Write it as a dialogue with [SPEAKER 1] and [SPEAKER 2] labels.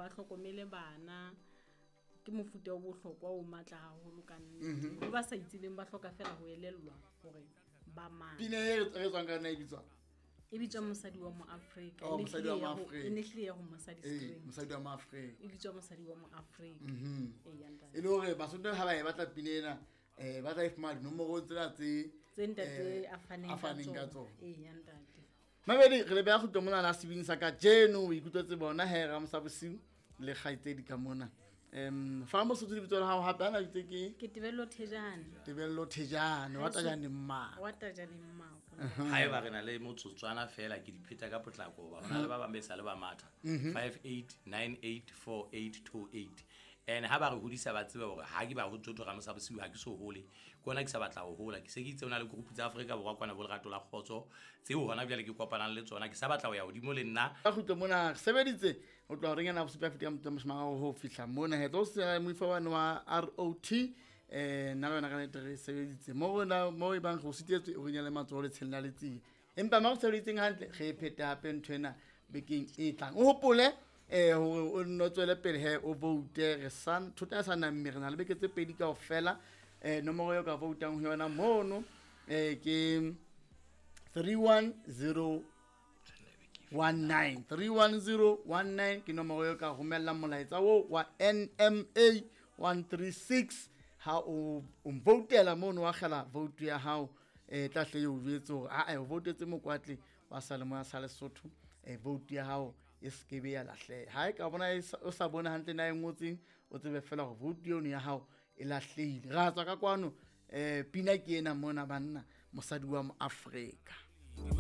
[SPEAKER 1] Ba hlokomele bana. Ke mofuta o bohlokwa o matla haholo ka nnete. Ho ba sa itsebeng ba hloka fela ho elellwa hore ba mang.
[SPEAKER 2] Pina e re tswang ka yona e bitswang?
[SPEAKER 1] E bitswa Mosadi wa Moafrika.
[SPEAKER 2] Oh, Mosadi wa Moafrika.
[SPEAKER 1] E ne hlile ya ho Mosadi
[SPEAKER 2] Ee, Mosadi wa Moafrika.
[SPEAKER 1] E bitswa Mosadi wa Moafrika. Ee, ya ntate.
[SPEAKER 2] E le hore Basotho ha ba e batla pina ena, ba tla e fumana dinomorong tsena tse
[SPEAKER 1] Tse ntate a faneng
[SPEAKER 2] a faneng ka tsona.
[SPEAKER 1] Ee, ya ntate.
[SPEAKER 2] Mabedi, re le beha kgutlo mona la sebini sa kajeno. O ikutlwetse bona he Ramosa bosiu le kgaitsedi ka mona. Fa Mosotho lebitso la hao hape ana bitse ke?
[SPEAKER 1] Ke Tebello Thejane.
[SPEAKER 2] Tebello Thejane, wa Tajane Mmako.
[SPEAKER 1] Wa Tajane Mmako.
[SPEAKER 3] Haeba re na le motsotswana fela ke di pheta ka potlako hoba hona le ba bang be sa le ba matha. 58984828. And ha ba re hodisa ba tsebe hore ha ke ba ho tsotho Ramosa bosiu ha ke so hole. Ke hona ke sa batla ho hola. Ke se ke itse hona le group tsa Afrika Borwa kwana bo Lerato la Kgotso tseo hona jwale ke kopanang le tsona. Ke sa batla ho ya hodimo le nna.
[SPEAKER 2] Ka kgutlo mona re sebeditse ho tloha horeng ena bosupa feta ka motho mashome a mararo ho fihla mona. He tlo se moifo wa wa ROT, nna le wena ka nnete re sebeditse. Mo rona, mo e bang re o sitetswe, o re nyale matsoho letsheng la letsie. Empa mo re sebeditseng hantle, re e phete hape ntho ena bekeng e tlang. O hopole hore o nno tswele pele he o vote. Re sa thota ya sa namme, re na le beke tse pedi kaofela. Nomoro eo ka voutang ho yona mono, ke 31019. 31019 ke nomoro eo ka romellang molaetsa oo wa NMA 136. Ha o mvoutela mono, wa kgela vote ya hao, tla hle eo jwetse hore, ae, o voutetse Mokwatle wa Salemoya sa Lesotho, vote ya hao e se ke be ya lahleha. Ha e ka bona e sa, o sa bone hantle na e ngotseng, o tsebe fela hore vote eno ya hao e lahlehile. Ra tswa ka kwano, pina ke ena mona banna, Mosadi wa Moafrika.